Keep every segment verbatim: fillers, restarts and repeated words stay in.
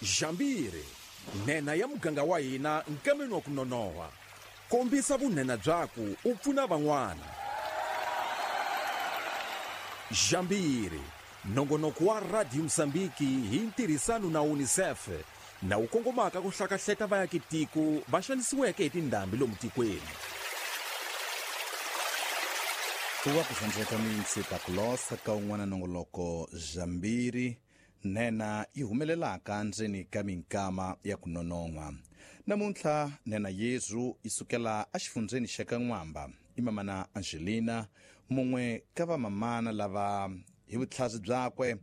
Jambiri, nhenha ya muganga wa hina nkameni wa ku nonoha. Kombisa vunhenha byaku u pfuna van'wana. Jambiri, nongonoko wa Radio Mozambique hi ntirhisano na UNICEF na wu kongomaka ku hlakahleta vaakitiko va xanisiweke hi tindhambi lomu tikweni. Ku va ku xandzeka mintsika ku losa ka un'wana nongoloko Jambiri, nhenha yi humelelaka ndzeni ka minkama ya ku nonon'hwa. Namuntlha nhenha Yesu yi sukela exifundzheni xa ka N'wamba. I mamana Angelina, mun'we ka vamamana lava hi vutlhari byakwe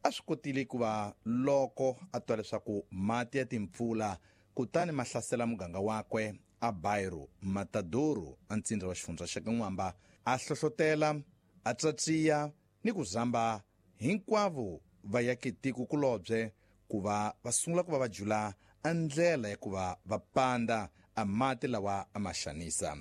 a swi kotile ku va loko a twa leswaku mati ya timpfula kutani ma hlasela muganga wakwe a Bairro Matadouro a ntsindza wa xifundza xa ka N'wamba, a hlohlotela, a tsatsiya ni ku zamba hinkwavo va yake tiko kulobye ku va va sungula ku va va jula a ndlela ya ku va va panda a mati lawa a ma xanisa.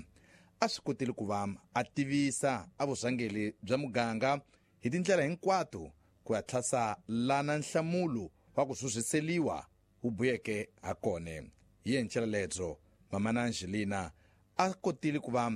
A swi kotile ku va a tivisa a vurhangeri bya muganga hi tindlela hinkwato ku ya tlhasa lana nhlamulo wa ku zuziseliwa wu buyeke ha kona. Hi yencela lebyo mamana Angelina a kotile ku va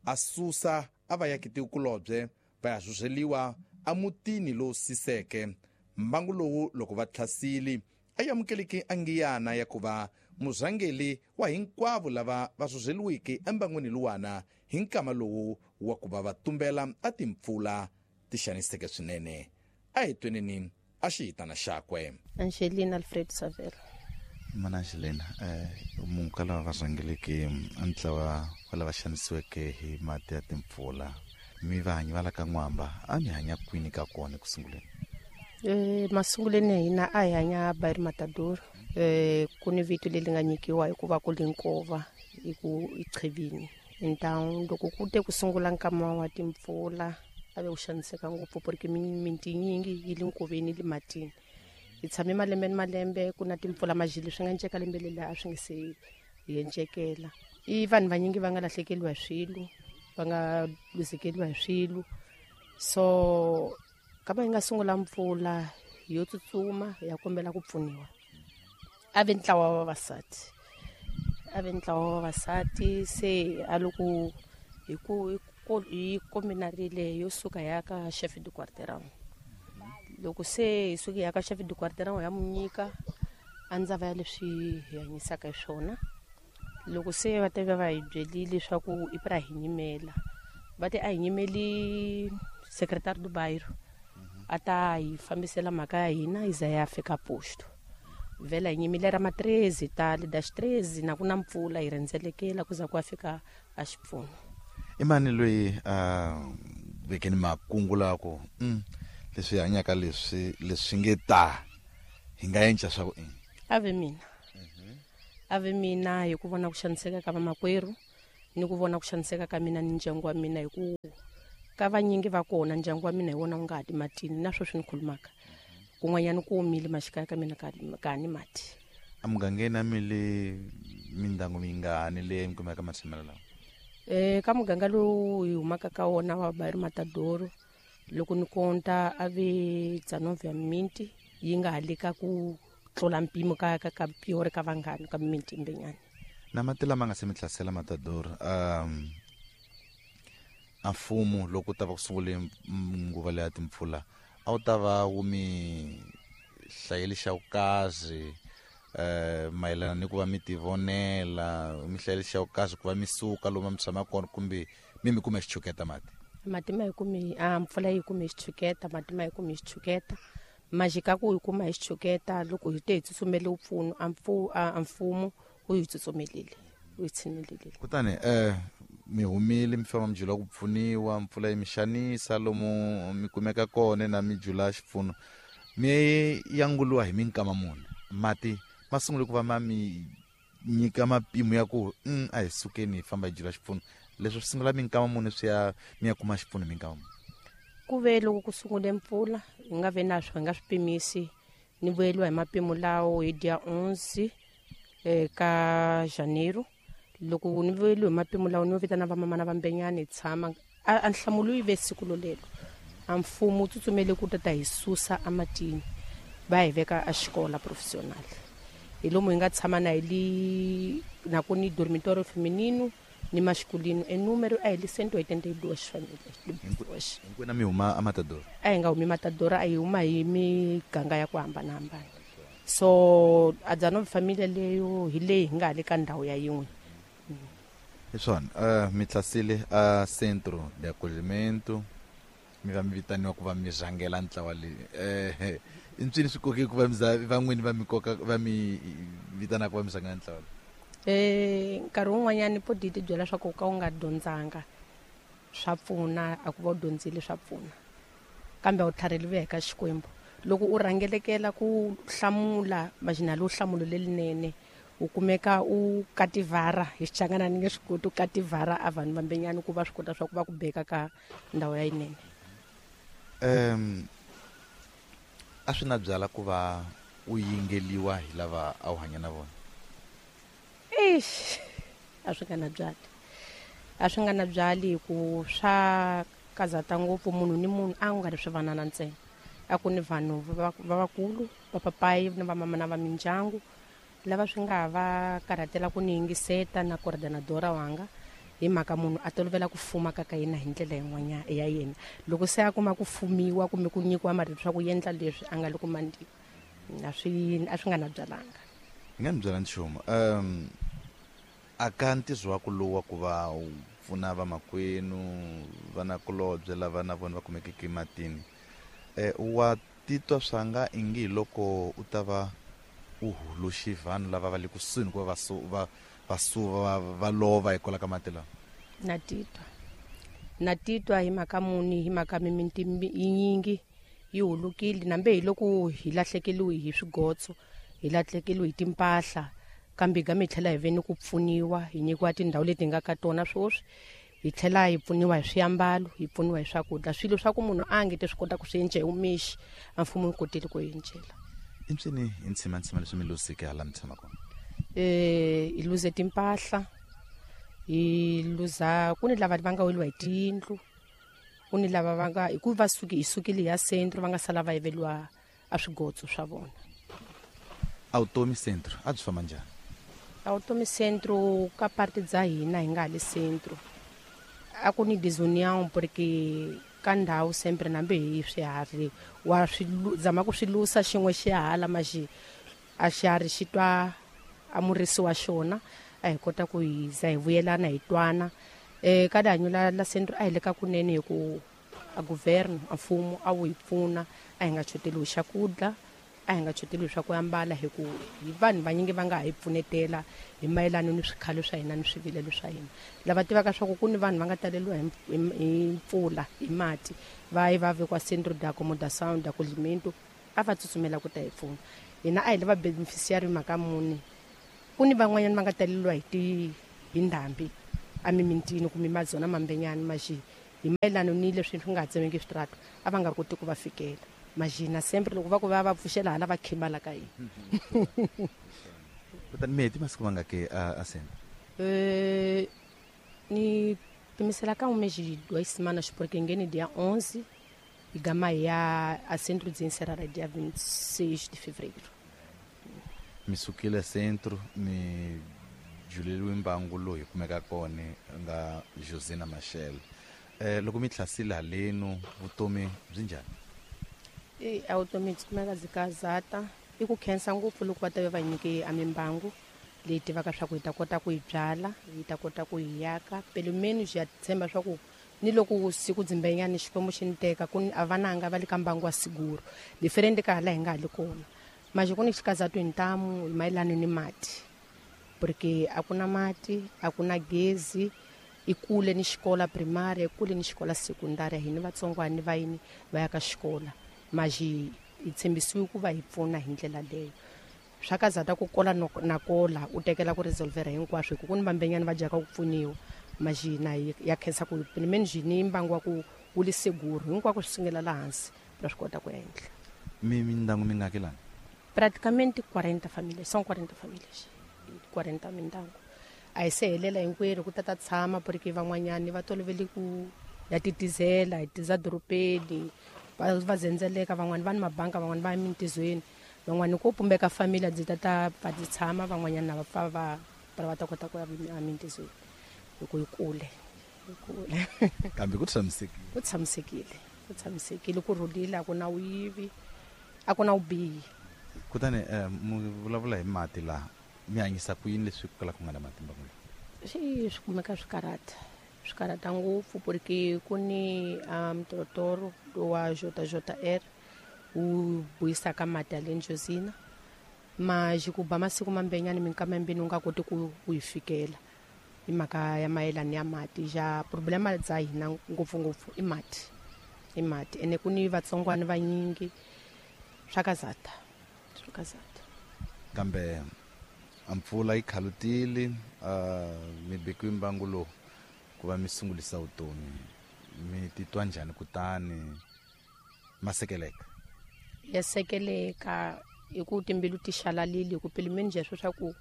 a susa a va yake tiko kulobye va ya zuzeliwa a mutini lowu siseke. Mbangu lowu loko va tlhasile a amukeleke a ngiyana ya ku va murhangeri wa hinkwavo lava va zuzeliweke embangwini luwana hi nkama lowu wa ku va va tumbela a timpfula ti xaniseke swinene. A hi tweneni a xihitana xakwe. Angelina Alfred Savela. Mana Angelina, eh munhu ka lava va rhangeleke a ntlawa wa lava xanisiweke hi mati ya timpfula, mi va hanyi va la ka N'wamba, a mi hanya kwini ka kona ku sunguleni? Eh masunguleni ya hina a hi hanya Bairro Matadouro. Eh ku ni vito leri nga nyikiwa hikuva ku li nkova hi ku i qhivini. Então loko ku te ku sungula nkama wa timpfula a ve ku xaniseka ngopfu porque miti yinyingi yi le nkoveni le matini. Hi tshame malembe ni malembe ku na timpfula majili swi nga nceka lembe leri a swi nge se hi encekela. I vanhu vanyingi va nga lahlekeriwa hi swilo, va nga luzekeriwa hi swilo. So kama yi nga sungula mpfula yo tsutsuma ya kombela ku pfuniwa. A ve ntlawa wa vavasati, a ve ntlawa wa vavasati se a loko hi ku hi kombinarile yo suka ya ka chef de quartier. Loko se hi suke ya ka chef de quartier ya mu nyika a ndzava ya leswi hi hanyisaka hi swona. Loko se va te va hi byelile leswaku i pra hi nyimela, va te a hi nyimeli secrétaire du bairro a ta hi fambisela mhaka ya hina yi za ya fika posto. Vhela hi nyimile ra ma treze tale dash treze na ku na mpfula hi rhendzelekela ku za ku ya fika a xipfuno. I mani loyi a vekeni makungu lawa ku mm, leswi hanyaka leswi leswi nge ta hi nga endla swa ku ini? A ve mina. A ve mina hi ku vona ku xaniseka ka vamakwerhu ni ku vona ku xaniseka ka mina ni ndyangu wa mina, hi ku ka vanyingi va kona ndyangu wa mina hi wona wu nga ha ti matini na sweswi ni khulumaka. Kun'wanyana ku omile maxikaya ka mina ka ka ni mati. A mugangeni a mi le mindyangu mingani leyi mi kumeka matshamelo lawa? Eh ka muganga lowu hi humaka ka wona wa Bairro Matadouro, loko ni konta a ve dzanove ya minti yi nga ha le ka ku tlula mpimo ka ka ka piore ka vanghani ka minti mbenyana. Na mati lama nga se mi hlasela Matador, um a mfumo loko ta va ku sungule nguva leya timpfula a wu ta va wu mi hlayeli xa vukazi eh mayelana ni ku va mi tivonela, mi hlayeli xa vukazi ku va mi suka lomu mi tshama kona, kumbe mi mi kume xichuketa mati? Mati ma hi kumi, a mpfula yi kume xichuketa, mati ma hi kume xichuketa. Majika ku hi kuma hi xichuketa loko hi te hi tsutsumele mpfuno, a mpfu-, a mfumo wu hi tsutsumelile, wu hi tshinelelile. Kutani eh mi humile mi famba mi jula ku pfuniwa, mpfula yi mi xanisa lomu mi kumeka kona na mi jula xipfuno, mi yanguliwa hi minkama muni? Mati ma sungule ku va ma mi nyika mapimo ya ku mm, a hi sukeni hi famba hi jula xipfuno. Leswi swi sungula minkama muni swi ya mi ya kuma xipfuno minkama muni? Ku ve loko ku sungule mpfula hi nga ve na swo hi nga swi pimisi, ni vuyeliwa hi mapimo lawo hi dia onze eh, ka Janeiro. Loko ni vuyeliwe hi mapimo lawo ni vitana vamamana va Mbenyani hi tshama a, a nhlamulo yi ve siku lolelo. A mfumo wu tsutsumele ku ta ta hi susa ematini va hi veka a xikola professional. Hi lomu hi nga tshama na hi li na ku ni dormitorio feminino ni masculino. E número a hi li cento e oitenta e duas famílias. Hinkwenu mi huma a Matador? A hi nga humi Matador, a hi huma hi miganga ya ku hambanahambana. So a dezenove família leyo hi leyi hi nga le ka ndhawu ya yin'we. Hi swona, uh, mi tlasile a Centro de Acolhimento, mi va mi vitaniwa ku va mi rhangela ntlawa leyi. Eh, i ncini swi koke ku va mi za van'wini va mi koka va mi vitana ku va mi rhangela ntlawa leyi? Eh, nkarhi wun'wanyani po di ti byela swa ku ka u nga dyondzanga swa pfuna, a ku va u dyondzile swa pfuna, kambe a wu tlhariheliwi eka Xikwembu. Loko u rhangelekela ku hlamula majina lowu hlamulo lerinene, u kumeka u kativhara hi Xichangana ni nge swi koti u kativhara a vanhu vambenyani ku va swi kota swa ku va ku beka ka ndhawu ya yinene. Um a swi na byala ku va u yingeliwa hi lava a wu hanya na vona? Eish, a swi nga na byali, a swi nga na byali hi ku swa kazata ngopfu. Munhu ni munhu a nga ri swivanana ntsena, a ku ni vanhu va vakulu, vapapayi ni vamama na va mindyangu lava swi nga va karhatela ku ni yingiseta na coordenadora wanga, hi mhaka munhu a tolovela ku fuma ka ka yena hi ndlela yin'wanyana ya yena. Loko se a kuma ku fumiwa kumbe ku nyikiwa marito swa ku endla leswi a nga le ku mandiwa, a swi a swi nga na byalanga. Hi nga ni byela nchumu. Um a ka ntirho wa ku lowu wa ku va u pfuna vamakwenu, vanakulobye lava na vona va kumekeke ematini, eh, wa titwa swa nga ingi hi loko u ta va u huluxi vanhu lava va le kusuhi ku va va va suva va lova hikwalaho ka mati lawa? Na titwa, na titwa hi mhaka muni, hi mhaka mimiti yinyingi yi hulukile, nambe hi loko hi lahlekeliwe hi swigotso, hi lahlekeliwe hi timpahla, kambe ga mi tlhela hi ve ni ku pfuniwa, hi nyikiwa tindhawu leti hi nga ka tona sweswi, hi tlhela hi pfuniwa hi swiambalo, hi pfuniwa hi swakudya, swilo swa ku munhu a nge te swi kota ku swi enca hi mixi, a mfumo wu kotile ku encela. I ncini hi ntshimantsima leswi mi luzeke hala mi tshama kona? Eh, hi luze timpahla, hi luza ku ni lava va nga weliwa hi tiyindlu, ku ni lava va nga hi ku va suki hi sukile ya centro va nga sala va yiveliwa a swigotso swa vona. A vutomi centro a byi famba njhani? A vutomi centro ka parte dza hina hi nga le centro a ku ni desunião, porque ka ndhawu sempre nambe hi swiharhi wa swi zama ku swi lusa xin'we xihala maxi a xiharhi xi twa a murisi wa xona, a hi kota ku hi za hi vuyelana hi twana. Eh, ka rihanyo la la centro a hi le ka kunene hi ku a governo a mfumo a wu hi pfuna, a hi nga choteliwi xakudya, a hi nga choteliwi swa ku ambala, hi ku hi vanhu vanyingi va nga ha hi pfunetela hi mayelana ni swikhalo swa hina ni swivilelo swa hina. Lava tivaka swa ku ku ni vanhu va nga taleliwa hi hi mpfula hi mati va yi va vekiwa Centro de Acomodação de Acolhimento, a va tsutsumela ku ta hi pfuna. Hina a hi lava beneficiary mhaka muni, ku ni van'wanyana va nga taleliwa hi ti hi ndhambi a mimintini kumbe mazona mambenyani maxi hi mayelana ni leswi swi nga ha tsemeki switrato, a va nga koti ku va fikela. Majina sempre loko va ku va va pfuxela hala va khimala ka hina. Kutani mi heti masiku mangaki a a centro? Eh, ni pimisela ka um mês de duas semanas, porque ngene dia onze e gama ya a centro de encerrar dia vinte e seis de fevereiro. Mi sukile centro mi juleliwe mbangu lowu hi kumeka kona nga Josina Machel. Eh, loko mi tlasile halenu vutomi byi njhani? E a vutomi byi kumeka byi kazata. I ku khensa ngopfu loko va ta va nyike a mimbangu leyi tivaka swa ku hi ta kota ku yi byala, hi ta kota ku yi yaka. Pelo menos ya tshemba swa ku ni loko siku dzimbenyani Xikwembu xi ni teka ku ni a vananga va le ka mbangu wa siguro diferente ka hala hi nga ha le kona. Maxi ku ni xikazatu hi ntamu hi mayelana ni mati, porque a ku na mati, a ku na gezi, i kule ni xikola primary, i kule ni xikola secundária, hina vatsongwana va yini va ya ka xikola. Maxi hi tshembisiwe ku va hi pfuna hi ndlela leyo. Swa kazata ku kola na kola u tekela ku resolvera hinkwaswo, hi ku ku ni vambenyani va dyaka ku pfuniwa. Maxi na ya khensa ku pelo menos ni mbangu wa ku wu le seguro hinkwako swi sungela laha hansi ra swi kota ku endla. Mi mindyangu mingaki lana? Praticamente quarenta famílias, são quarenta famílias, quarenta mindyangu. A hi se helela hinkwerhu ku ta ta tshama, porque van'wanyani va tolovele ku ya titizela hi tiza dorobeni, va va zendzeleka, van'wani va ni mabanka, van'wani va ya mintizweni. Van'wani ku pumbeka família dzi tata va dzi tshama van'wanyana va pfa va va ta kota ku ya emintizweni hi ku yi kule yi kule. Kambe ku tshamisekile. Ku tshamisekile, ku tshamisekile, ku rhulile, a ku na vuyivi, a ku na vubihi. Kutani mu vulavula hi mati laha, mi hanyisa ku yini leswi ku kala ku nga na mati mbangu lowu? Swi swi kumeka swi karhata, swi karhata ngopfu porque ku ni mtorotoro wa J J R wu vuyisaka mati ya le Njozina, ma ku ba masiku mambenyani minkama yimbirhi u nga koti ku ku yi fikela hi mhaka ya mayelana ya mati. Ja problema bya hina ngopfungopfu i mati, i mati ene ku ni vatsongwana vanyingi swa kazata, swa kazata. Kambe a mpfula yi khalutile, mi bekiwe mbangu lowu ku va mi sungulisa vutomi, mi titwa njhani kutani ma sekeleka? Ya sekeleka hi ku timbilu ti xalalile, hi ku pilimeni njhe swa ku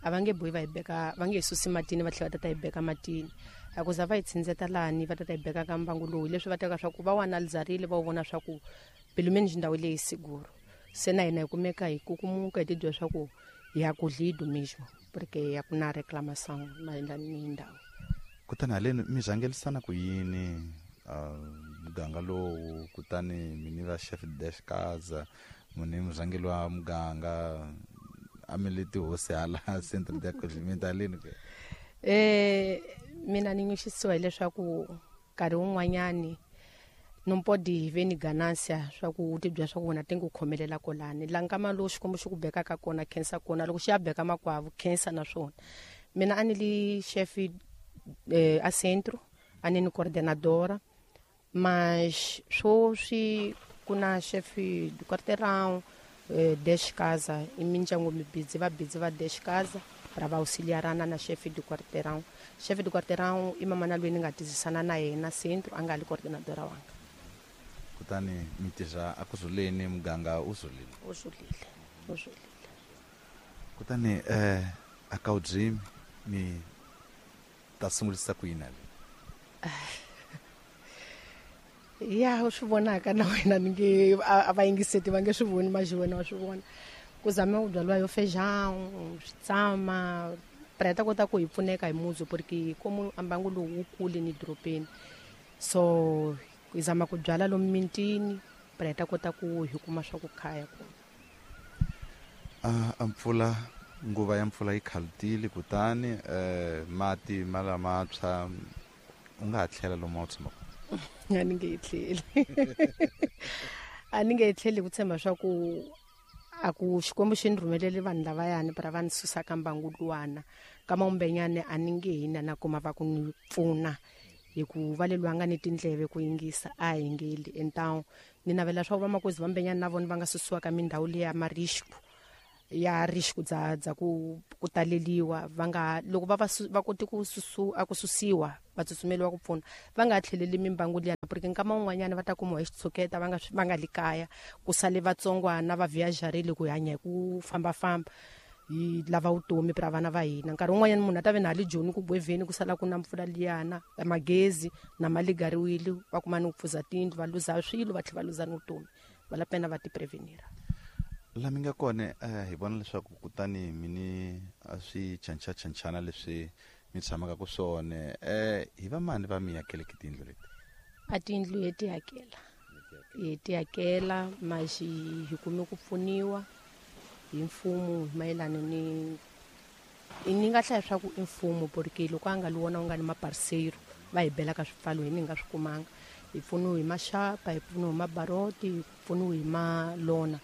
a va nge bohi va hi beka, va nge hi susi matini va tlhela va tata hi beka matini. A ku za va hi tshindzeta lani va tata hi beka ka mbangu lowu, leswi va teka swa ku va wu analizarile va wu vona swa ku pilimeni ndhawu leyi siguro. Se na hina hi kumeka hi kukumuka hi tibyela swa ku ya kudlido mesmo porque ya ku na reclamação mayelana ni ndhawu. Kutani haleni mi rhangelisana ku yini muganga lowu? Kutani mi ni va chef dash kaza, mu ni murhangeri wa muganga, a mi le tihosi hala centre de accompagnement haleni ke? Eh mina ni nyuxisiwa hileswaku nkarhi wun'wanyani não pode ver ni ganância swa ku ti byela swa ku wena ti ku khomelela kolani la nkama lowu Xikwembu xi ku bekaka kona khensa kona, loko xi ya beka makwavo khensa na swona. Mina a ni li chef eh, a centro, a ni ni coordenadora, mas swoswi ku na chef do quarteirão, eh, dez casa i mindyangu mi busy va busy va dez casa para va auxiliarana na chefe do quarteirão. Chefe do quarteirão i mamana loyi ni nga tizisana na yena centro, a nga li coordenadora wanga. Kutani mi tirha a ku zuleni muganga u zulile? U zulile, u zulile. Kutani eh a ka dream mi ta sungulisa ku yini le? Ya u swi vonaka na wena ni nge a va yingiseti va nge swi voni, mas wena wa swi vona. Ku zama ku byaliwa yo feijão, switsama, para hi ta kota ku hi pfuneka hi muzi porque como mbangu lowu wu kule ni dorobeni, so hi zama ku byala lomu mintini para hi ta kota ku hi kuma swa ku khaya kona. A mpfula, nguva ya mpfula yi khalutile, kutani eh mati ma lamantshwa u nga ha tlhela lomu a wu tshama kona? A ni nge yi tlheli. A ni nge yi tlheli ku tshemba swa ku a ku Xikwembu xi ni rhumelele vanhu lavayani para va ni susa ka mbangu luwana ka mawumbenyane a ni nge hina na kuma va ku ni pfuna hi ku va lelwa nga ni tindleve ku yingisa a hi ngeli. Então ni navela swa ku vamakwezi va mbenyane na vona va nga susiwa ka mindhawu leya marisco ya risco dza dza ku ku taleliwa, va nga loko va va koti ku susu a ku susiwa va tsutsumeliwa ku pfuna va nga tlheleli mimbangu liya, porque nkama wun'wanyana va ta kumiwa hi xitshuketa va nga va nga li kaya, ku sale vatsongwana va viajarile ku hanya hi ku fambafamba hi lava vutomi pra vana va hina. Nkarhi wun'wanyana munhu a ta ve na le Joni ku gweveni ku sala ku na mpfula liyana magezi na mali gariwile, va kuma ni ku pfuza tindlu va luza swilo va tlhela va luza ni vutomi, va la pena va ti prevenira. La mi nga kona hi vona leswaku kutani mi ni a swi chanchachanchana leswi mi tshamaka ku swona, eh hi va mani va mi hakeleke tindlu leti? A tindlu hi ti hakela, hi ti hakela mas hi kume ku pfuniwa hi mfumo mayelana ni ni nga hlaya swa ku i mfumo porque loko a nga li wona u nga ni maparceiro va hi belaka swipfalo hi ni nga swi kumanga. Hi pfuniwe hi maxapa, hi pfuniwe hi mabaroti, hi pfuniwe hi malona.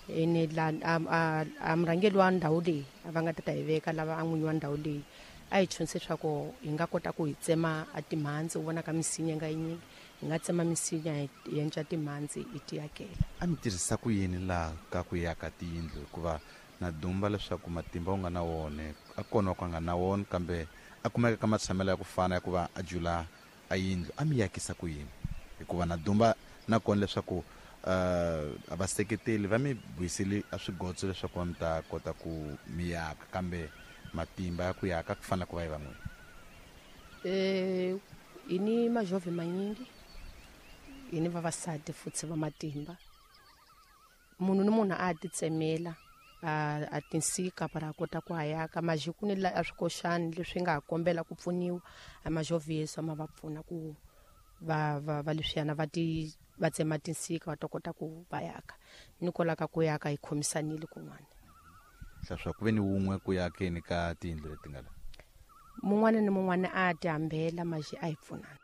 Ene la a a murhangeri wa ndhawu leyi a va nga ta ta hi veka lava a n'winyi wa ndhawu leyi a hi chonise swa ku hi nga kota ku hi tsema a timhandzi, u vona ka misinya nga yinyingi hi nga tsema misinya hi endla timhandzi hi ti akela. A mi tirhisa ku yini laha ka ku yaka tiyindlu? Hikuva na dumba leswaku matimba u nga na wona a kona ku nga na wona, kambe a kumeka ka matshamelo ya ku fana ya ku va a jula a yindlu, a mi yakisa ku yini? Hikuva na dumba na kona leswaku uh a vaseketeli va mi buyisile a swigotso leswaku va mi ta kota ku mi yaka, kambe matimba ya ku yaka ku fana ku va yi van'wini. Eh hi ni majove manyingi, hi ni vavasati futhi va matimba. Munhu ni munhu a ti tsemela a a tinsika para kota ku hayaka majiku ni la swikoxani leswi nga kombela ku pfuniwa a majovieso ma va pfuna ku va va va leswiyana va ti va tsema tinsika va ta kota ku va yaka ni kolaka ku yaka hi khomisanile kun'wana. Swa ku ve ni wun'we ku yakeni ka tiyindlu leti nga la mun'wana ni mun'wana a ti hambela maji a hi pfunana.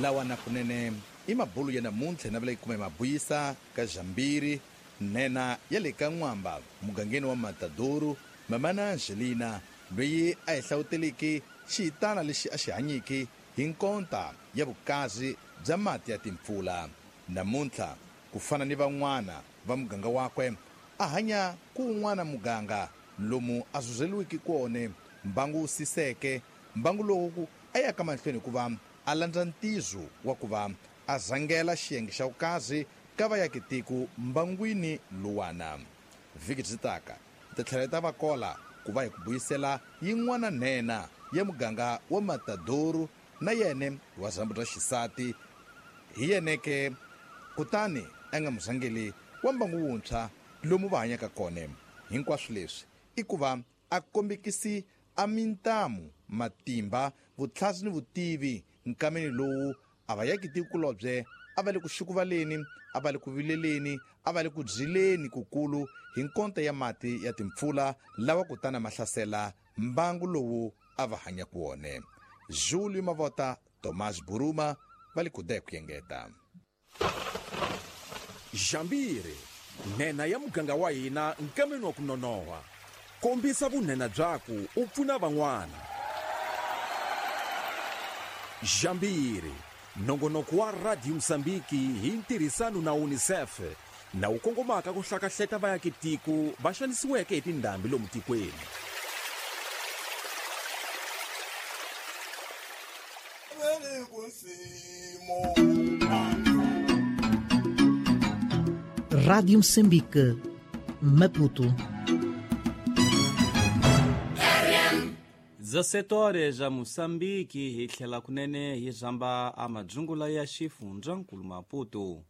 Lawa na kunene i mabulu ya namuntlha na vula yi kuma hi mabuyisa ka Jambiri nena ya le ka N'wamba mugangeni wa Matadoro. Mamana Angelina loyi a hi hlawuteleki xiyitana lexi a xi hanyiki hi nkonta ya vukazi bya mati ya timpfula. Namuntlha ku fana ni van'wana va muganga wakwe a hanya ku un'wana muganga lomu a zuzeliwiki kone mbangu wu siseke mbangu lowu a yaka mahlweni hikuva a landza ntizo wa ku va a rhangela xiyenge xa vukazi ka vayakitiko mbangwini luwana. Vhiki byi taka ti tlhela ta va kola ku va hi ku buyisela yin'wana nhenha ya muganga wa Matadoro na yene wa zambu ra xisati hi yeneke kutani a nga murhangeli wa mbangu wuntshwa lomu va hanyaka kona. Hinkwaswo leswi i ku va a kombekisi a mintamu matimba vutlhasi ni vutivi nkameni lowu a va yakitikulobye a va le ku xukuvaleni a va le ku vileleni a va le ku byileni kukulu hi nkonta ya mati ya timpfula lawa kutana ma hlasela mbangu lowu a va hanya ku wona. Julio Mavota, Tomás Buruma va le kude ku yengeta. Jambiri nhenha ya muganga wa hina nkameni wa ku nonoha. Kombisa vunhenha byaku u pfuna van'wana. Jambiri nongonoko wa Radio Msambiki hi ntirhisano na UNICEF na wu kongomaka ku hlakahleta vayakitiko va xanisiweke hi tindhambi lomu tikweni. Rádio Moçambique, Maputo. dezessete horas a Moçambique hi tlhela kunene hi zamba a madzungula ya xifundzankulu Maputo.